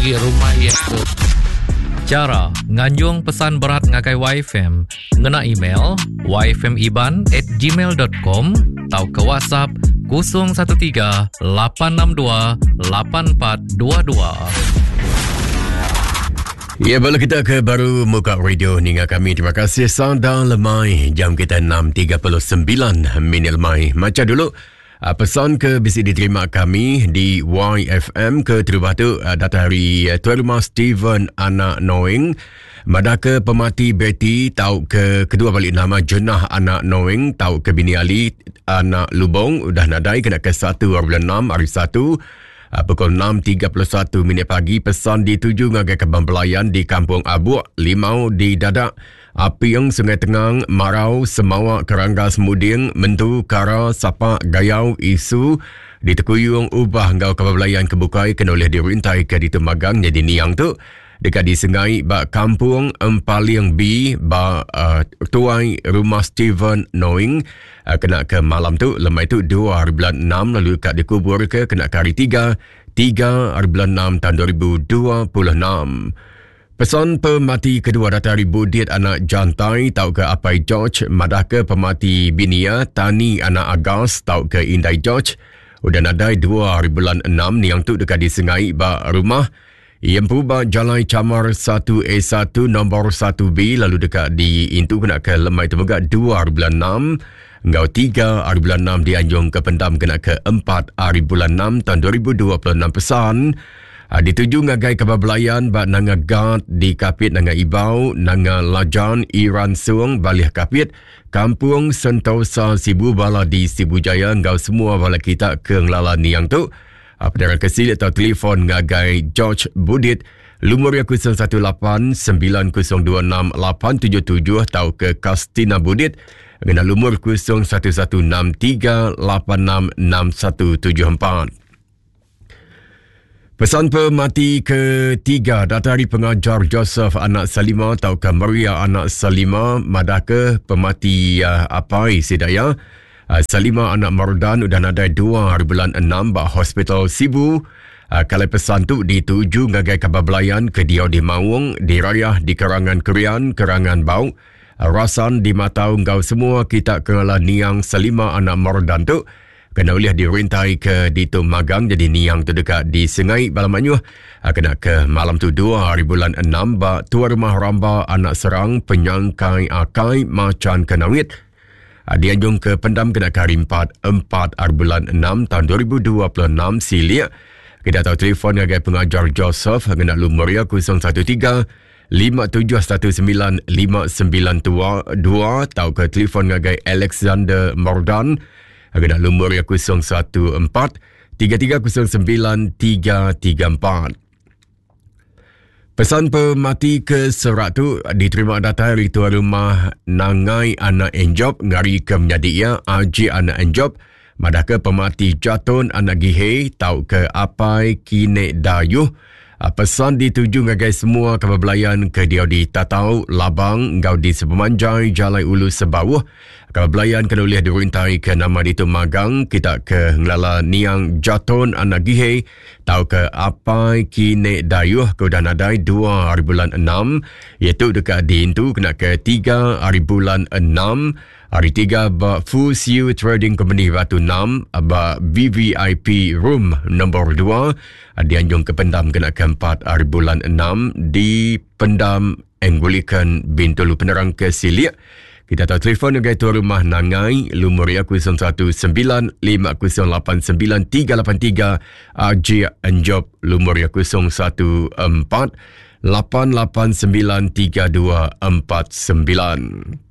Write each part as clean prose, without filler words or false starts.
agi rumah iya tu. Chara nganjung pesan berat ngagai YFM ngena email yfmiban at gmail.com tauka WhatsApp 013 862 8422. Ya, bala kita ke baru muka radio ninga kami. Terima kasih Sanda Lemai. Jam kita 6.39 minit lemai. Maca dulu uh, pesan ke bisi diterima kami di YFM ke terubah tu uh, datang hari uh, Tuan Rumah Steven Anak Noing. Madah ke pemati Betty tau ke kedua balik nama Jenah Anak Noing tau ke bini Ali Anak Lubong udah nadai kena ke 1 hari bulan 6 hari 1 Ah, pukul 6.31 minit pagi pesan dituju ngagai Kebang Belayan di Kampung Abuk, Limau di Dadak, Apieng Sungai Tengang, Marau, Semawa, Keranggas, Muding, Mentu, Kara, Sapak, Gayau, Isu, di Tekuyung, Ubah enggau Kebang Belayan ke bukai kena ulih dirintai ke ditu magang nyadi niang tu deka disengai ba Kampung Empaling B ba uh, Tuai Rumah Steven Noing uh, kena ke malam tu lemai tu 2 hari bulan 6 lalu ka dikubur ke kena ke hari 3 3 hari bulan 6 tahun 2026. Pesan pemati kedua datai ari Budit anak Jantai tauka Apai George madahka pemati bini iya Tani anak Agas tauka Indai George udah nadai 2 hari bulan 6 niang tu deka disengai ba rumah Iya empu ba Jalai Chamar 1A1 nombor 1B lalu deka diintu kena ke lemai tu mega 2 hari bulan 6 enggau 3 hari bulan 6 dianjung ke pendam kena ke 4 hari bulan 6 tahun 2026 pesan ah, dituju ngagai kaban belayan ba Nanga Gat di Kapit Nanga Ibau, Nanga Lajan, Iran Sung, Balih Kapit, Kampung Sentosa Sibu Bala di Sibu Jaya enggau semua bala kita ke ngelala niang tu. Penerang ke silik atau telefon ngagai George Budit lumur iya 018 9026 877 tau ke Kastina Budit ngena lumur 0116 386 6174. Pesan pemati ketiga datai ari pengajar Joseph anak Salima tauka Maria anak Salima madahka pemati uh, apai sida iya uh, Salima anak Mardan udah nadai dua hari bulan enam ba Hospital Sibu. Uh, kalai pesan tu dituju ngagai kaban belayan ke diau di Maung, di Rayah, di Kerangan Kerian, Kerangan Bau, Rasan di Matau enggau semua kita ke ngala niang Salima anak Mardan tu kena ulih dirintai ke ditu magang jadi niang tu deka disengai bala mayuh ah, kena ke malam tu 2 hari bulan 6 ba Tuai Rumah Ramba Anak Serang Penyangkai Akai Macan Kenawit ah, dianjung ke pendam kena ke hari 4 4 hari bulan 6 tahun 2026 silik kita tahu telefon ngagai pengajar Joseph ngena lumur iya 013 5719 592 tauka telefon ngagai Alexander Mordan ngena lumur iya 014 3309 334. Pesan pemati ke serak tu diterima datai ari tuan rumah Nangai Anak Enjob ngari ke menyadi iya Aji Anak Enjob madahka pemati Jaton Anak Gihei tauka Apai Kinek Dayuh Ah, pesan dituju ngagai semua kaban belayan ke diau di Tatau, Labang enggau di sepemanjai Jalai Ulu Sebauh. Kaban belayan kena ulih dirintai ke nama ditu magang kita ke ngelala niang Jaton anak Gihei tauka Apai Kine Dayuh ke udah nadai 2 hari bulan 6 iaitu deka diintu kena ke 3 hari bulan 6 Hari tiga ba Fu Siu Trading Company Batu 6 ba VVIP Room nombor 2 dianjung ke pendam kena ke 4 hari bulan 6 di Pendam Anglican Bintulu penerang ke silik. Kita tahu telefon ngagai tuan rumah Nangai lumur iya 019 508 9383 Aji Enjob lumur iya 014 889 3249.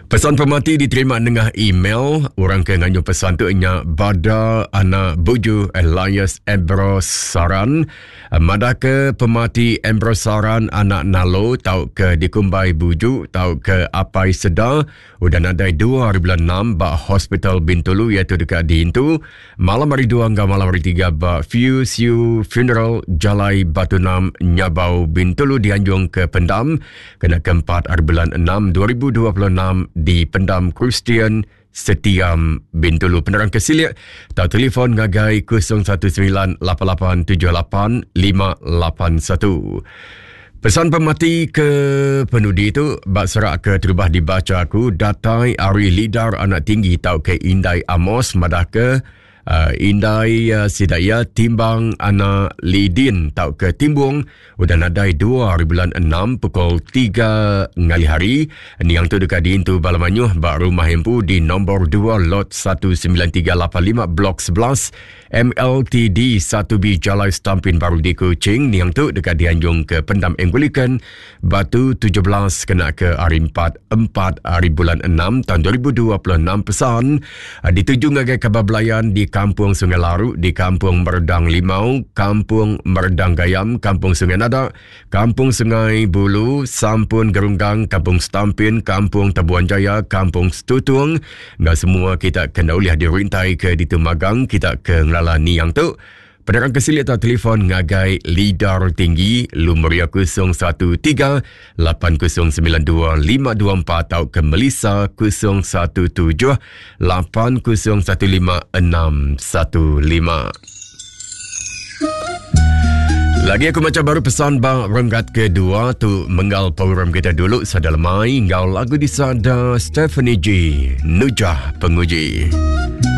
Pesan pemati diterima nengah email. Orang ke nganjung pesan tu nya Bada Anak Buju Elias Ambrose Saran. Madah ke pemati Ambrose Saran anak Nalo tau ke dikumbai Buju tau ke Apai Seda udah nadai 2 hari bulan 6 ba Hospital Bintulu iaitu deka diintu Malam hari dua enggau malam hari tiga ba Few Siu Funeral Jalai Batu Nam Nyabau Bintulu dianjung ke Pendam kena keempat hari bulan 6 2026 di Pendam Kristian Setiam Bintulu. Penerang ke silik tau telefon ngagai 019 8878 581. Pesan pemati ke penudi tu ba serak ke terubah dibacha aku datai ari lidar anak tinggi tauka indai Amos madah ke uh, indai uh, sida iya timbang anak Lidin tauka Timbung udah nadai 2 hari bulan 6 pukul 3 ngalih hari. Niang tu deka diintu bala mayuh ba rumah empu di nombor 2 lot 19385 blok 11 MLTD 1B Jalai Stampin Baru di Kuching niang tu deka dianjung ke Pendam Anglican Batu 17 kena ke hari 4 4 hari bulan 6 tahun 2026 pesan ah, dituju ngagai kaban belayan di Kampung Sungai Laru di Kampung Merdang Limau, Kampung Merdang Gayam, Kampung Sungai Nada, Kampung Sungai Bulu, Sampun Gerunggang, Kampung Stampin, Kampung Tabuan Jaya, Kampung Setutung Enggau semua kita ke enda ulih dirintai ke ditu magang kita ke ngelala niang tu. Penerang ke silik atau telefon ngagai Lidar Tinggi lumur iya 013 8092 524 atau ke Melissa 017 8015 615. Lagi aku maca baru pesan ba renggat kedua tu menggal program kita dulu sada lemai enggau lagu disada Stephanie G Nujah Penguji.